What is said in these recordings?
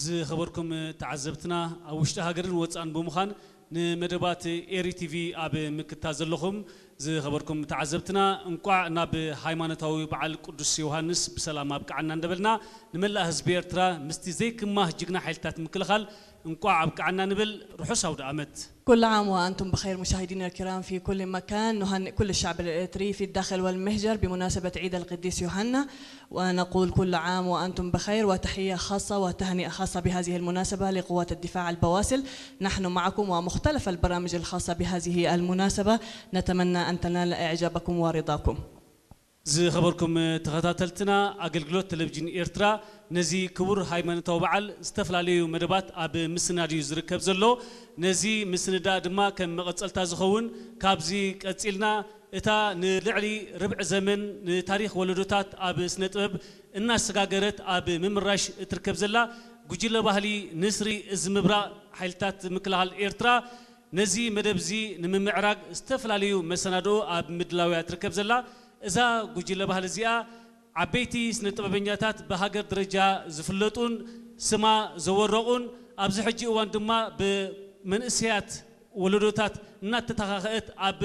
ዝኸበርኩም ተዓዘብትና፣ ኣብ ውሽጢ ሃገርን ወፃእን ብምዃን ንመደባት ኤሪ ቲቪ ኣብ ምክታተል ዘለኹም ዝኸበርኩም ተዓዘብትና፣ እንቋዕ ናብ ሃይማኖታዊ በዓል ቅዱስ ዮሃንስ ብሰላም ኣብቅዓና እንዳበልና፣ ንመላእ ህዝቢ ኤርትራ ምስቲ ዘይክማህ ጅግና ሓይልታት ምክልኻል እንቋዕ ኣብቅዓና ንብል። ርሑስ ኣውደ ዓመት። كل عام وأنتم بخير مشاهدينا الكرام في كل مكان. نهنئ كل الشعب الإريتري في الداخل والمهجر بمناسبة عيد القديس يوحنا، ونقول كل عام وأنتم بخير، وتحية خاصة وتهنئة خاصة بهذه المناسبة لقوات الدفاع البواسل. نحن معكم ومختلف البرامج الخاصة بهذه المناسبة، نتمنى أن تنال إعجابكم ورضاكم. ዝኸበርኩም ተኸታተልትና፣ ኣገልግሎት ቴሌቪዥን ኤርትራ ነዚ ክቡር ሃይማኖታዊ በዓል ዝተፈላለዩ መደባት ኣብ ምስናድ እዩ ዝርከብ ዘሎ። ነዚ ምስንዳእ ድማ ከም መቐጸልታ ዝኸውን፣ ካብዚ ቀጺልና እታ ንልዕሊ ርብዒ ዘመን ንታሪኽ ወለዶታት ኣብ ስነ ጥበብ እናሰጋገረት ኣብ ምምራሽ እትርከብ ዘላ ጉጅለ ባህሊ ንስሪ እዝ ምብራቕ ሓይልታት ምክልኻል ኤርትራ ነዚ መደብ እዚ ንምምዕራግ ዝተፈላለዩ መሰናድኦ ኣብ ምድላው እያ ትርከብ ዘላ። እዛ ጉጅለ ባህሊ እዚኣ ዓበይቲ ስነ ጥበበኛታት ብሃገር ደረጃ ዝፍለጡን ስማ ዘወረቑን ኣብዚ ሕጂ እዋን ድማ ብመንእሰያት ወለዶታት እናተተኻኸአት ኣብ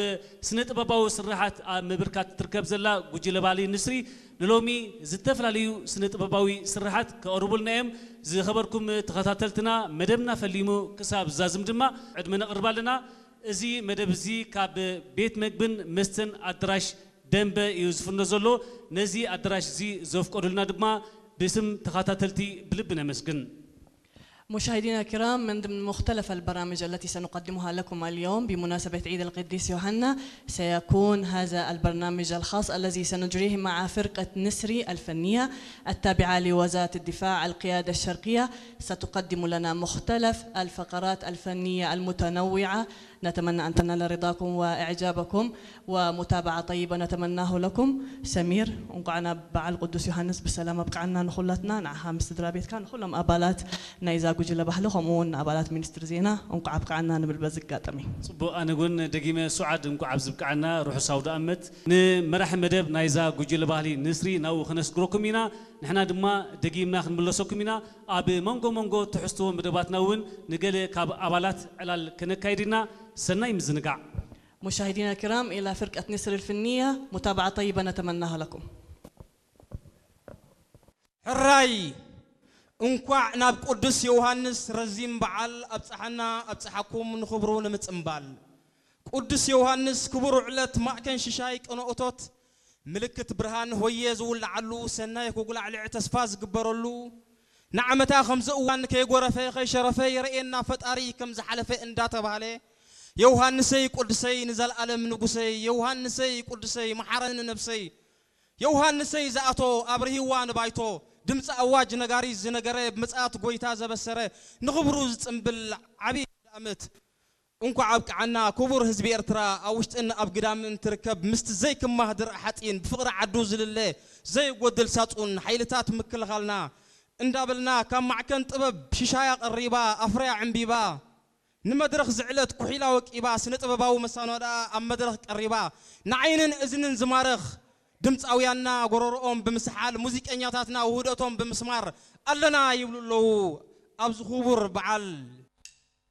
ስነ ጥበባዊ ስርሓት ኣብ ምብርካት ትርከብ ዘላ ጉጅለ ባህሊ ንስሪ ንሎሚ ዝተፈላለዩ ስነ ጥበባዊ ስርሓት ከቕርቡልና እዮም። ዝኸበርኩም ተኸታተልትና፣ መደብና ፈሊሙ ክሳብ ዝዛዝም ድማ ዕድመ ነቕርብ ኣለና። እዚ መደብ እዚ ካብ ቤት መግብን መስተን ኣዳራሽ ደንበ እዩ ዝፍኖ ዘሎ። ነዚ ኣዳራሽ እዚ ዘፍቀዱልና ድማ ብስም ተኸታተልቲ ብልቢ ነመስግን። مشاهدينا الكرام، من ضمن مختلف البرامج التي سنقدمها لكم اليوم بمناسبة عيد القديس يوحنا سيكون هذا البرنامج الخاص الذي سنجريه مع فرقة نسري الفنية التابعة لوزارة الدفاع القيادة الشرقية. ستقدم لنا مختلف الفقرات الفنية المتنوعة. نتمنى أن تنال رضاكم وإعجابكم ومتابعة طيبة نتمناه لكم. سمير، እንኳዕ ናብ በዓል ቅዱስ ዮሃንስ ብሰላም ኣብቅዓና ንኹላትና፣ ንዓኻ ምስ ስድራ ቤትካ፣ ንኹሎም ኣባላት ናይዛ ጉጅለ ባህሊ፣ ከምኡ እውን ንኣባላት ሚኒስትሪ ዜና እንኳዕ ኣብቅዓና ንብል በዚ ኣጋጣሚ። ጽቡቕ፣ ኣነ እውን ደጊመ ሱዓድ እንኳዕ ኣብዚ ብቅዓና፣ ርሑስ ኣውደ ኣመት። ንመራሒ መደብ ናይዛ ጉጅለ ባህሊ ንስሪ ናብኡ ከነስግረኩም ኢና። ንሕና ድማ ደጊምና ክንምለሰኩም ኢና። ኣብ መንጎ መንጎ ትሕዝቶ መደባትና እውን ንገለ ካብ ኣባላት ዕላል ከነካይድ ኢና። ሰናይ ምዝንጋዕ። مشاهدينا الكرام، إلى فرقة نسر الفنية، متابعة طيبة نتمناها لكم. ሕራይ እንኳዕ ናብ ቅዱስ ዮሃንስ ረዚን በዓል ኣብጽሓና ኣብጽሓኩም ንኽብሩ ንምጽምባል። ቅዱስ ዮሃንስ ክቡር ዕለት ማእከን ሽሻይ ቅነ እቶት ምልክት ብርሃን ሆየ ዝውልዓሉ ሰናይ ክጉላዕልዕ ተስፋ ዝግበረሉ ንዓመታ ከምዚ እዋን ከይጎረፈ ከይሸረፈ የርእየና ፈጣሪ ከም ዝሓለፈ እንዳተባህለ ዮሃንሰይ ቅዱሰይ ንዘለኣለም ንጉሰይ ዮሃንሰይ ቅዱሰይ መሓረኒ ነብሰይ ዮሃንሰይ ዝኣቶ ኣብርሂዋ ንባይቶ ድምፂ ኣዋጅ ነጋሪት ዝነገረ ብምፅኣት ጎይታ ዘበሰረ ንኽብሩ ዝፅምብል ዓብዪ ኣውደ ኣመት እንኳዕ ኣብቅዓና ክቡር ህዝቢ ኤርትራ ኣብ ውሽጥን ኣብ ግዳምን ትርከብ ምስቲ ዘይክማህ ድርዕ ሓፂን ብፍቕሪ ዓዱ ዝልለ ዘይጎድል ሳፁን ሓይልታት ምክልኻልና እንዳበልና ካብ ማዕከን ጥበብ ሽሻያ ቀሪባ ኣፍርያ ዕምቢባ ንመድረኽ ዝዕለት ኩሒላ ወቂባ ስነ ጥበባዊ መሳኖዳኣ ኣብ መድረኽ ቀሪባ ንዓይንን እዝንን ዝማርኽ ድምፃውያንና ጎረርኦም ብምስሓል ሙዚቀኛታትና ውህደቶም ብምስማር ኣለና ይብሉ ኣለዉ ኣብዚ ክቡር በዓል